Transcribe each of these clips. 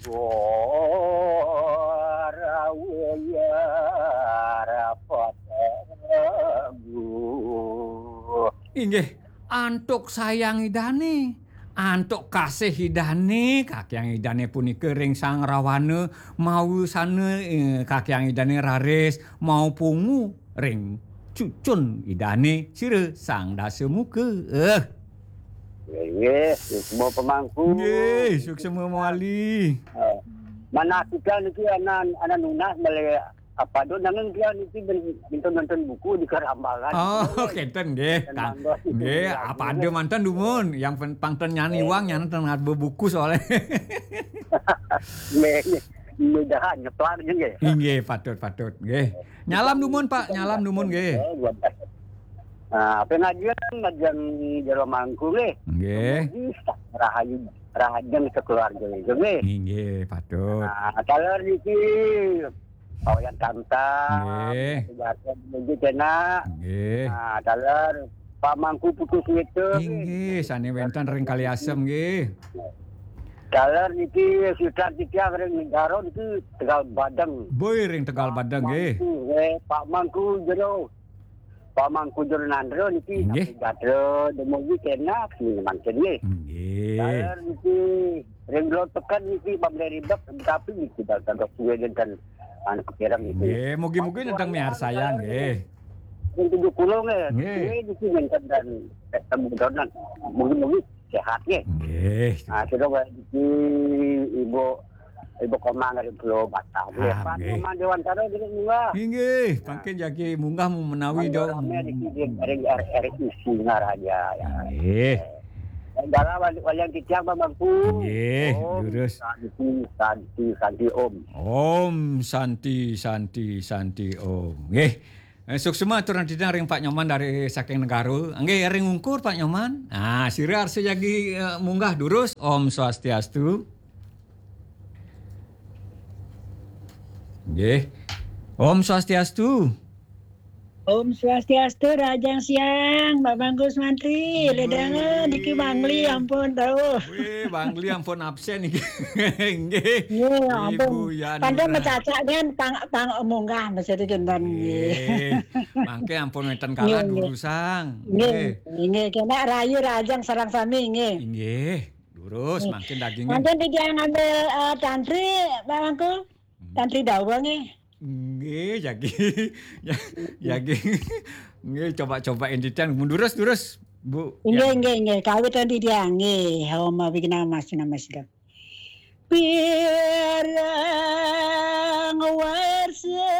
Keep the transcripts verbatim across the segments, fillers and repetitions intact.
Gorawaya rapat. Inggih, antuk sayang Idane, antuk kasih Idane, kakyang Idane punika ring Sang Rawana, mawusana, eh, kakyang Idane raris, mapungu ring cucun Idane, sira Sang Dasamuka. Eh. Nggih, suksma pamangku. Nggih, suksma mawali. Eh, manah kita niki anak, anak nunas malih apa do nanging dia niki ben-, nonton-nonton buku di Karambangan. Oh, kenten nggih. Kenten Kang. Mangga. Nggih, apa ada manten dumun, yang pen-, pang ten nyani wang, nyana ten ngadbe buku soalnya. Nggih, nggih. Mudahan nyeplak nggih. Inggih, patut, patut, nggih. Nyalam dumun, Pak, nyalam dumun nggih. Eh, buat. Nah, pengajian, ngajian jero mangku nggih. Nggih. Rahayu, rahajeng sekeluarga nggih, nggih. Inggih, patut. Nah, taler niki Pak Wayan Tamtam, nggih. Batu Batu menuju kena. Nggih. Nah, taler Pak Mangku Putu Suwita, nggih. Inggih, sane wenten ring Kali Asem nggih. Taler niki sutra titiang ring negara niki Tegal Badeng. Boy ring Tegal Badeng nggih. Mangku, eh, Pak Mangku jero Pak Mangku Jero Nandra niki, inggih. Napi gatra dumugi kena sini mangkin nggih. Inggih. Taler niki ring Blor Peken niki pamlih ribet, tapi niki dal tandok suwe dinten anu kepireng niki. Nggih, mugi-mugi nentang miarsayang nggih. Ring tujuh puluh nggih. Nggih. Nggih, niki dinten dan ketemu donan. Mugi-mugi sehat nggih. Nggih. Ah, sudah niki Ibu Ibu Komang dari Pulau Batam. Ah, nggih. Pak nggih. Nyoman Dewantara niki munggah. Inggih, pangkin jagi munggah menawi do. Rame niki di, dari R R I Singaraja ya. Nggih. Dalam wali-, walian titiang Pak Mangku. Nggih, Om durus. Santi, Santi, Santi Om. Om Santi, Santi, Santi Om. Nggih. Eh, suksma aturang titiang ring Pak Nyoman dari saking Negara. Nggih, ring ungkur Pak Nyoman. Ah, sira arsa jagi, eh, munggah durus. Om Swastiastu. Nggih. Om Swastiastu. Om Swastiastu, rahajeng siang, Pak Mangku Mantri. Ledangan, niki Bangli ampun tau. Wih, Bangli ampun absen niki. Nggih. Nggih, ampun. Ibu Yanura. Pantun macacak kan pang, pang munggah mesti kinten nggih. Nggih. Mangke ampun wenten kala durusang. Nggih. Nggih. Nggih, kena rahayu rahajeng sareng sami nggih. Inggih. Durus, nggih. Mangkin dagingnya. Mangkin titiang ngambil, eh, tantri, Pak Mangku. Hmm. Tantri dawa nggih. Nggih, jagi. Ya, jagi. Nggih, coba-coba entitan. Mun durus, durus, Bu. Inggih, ya. Inggih, inggih. Kawit tantri dia, nggih. Om Abhigna Mas Namasida. Pirang warsa.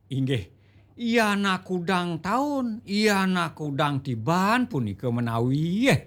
Inggih. Yana kudang taun, yana kudang tiban punika menawi, eh.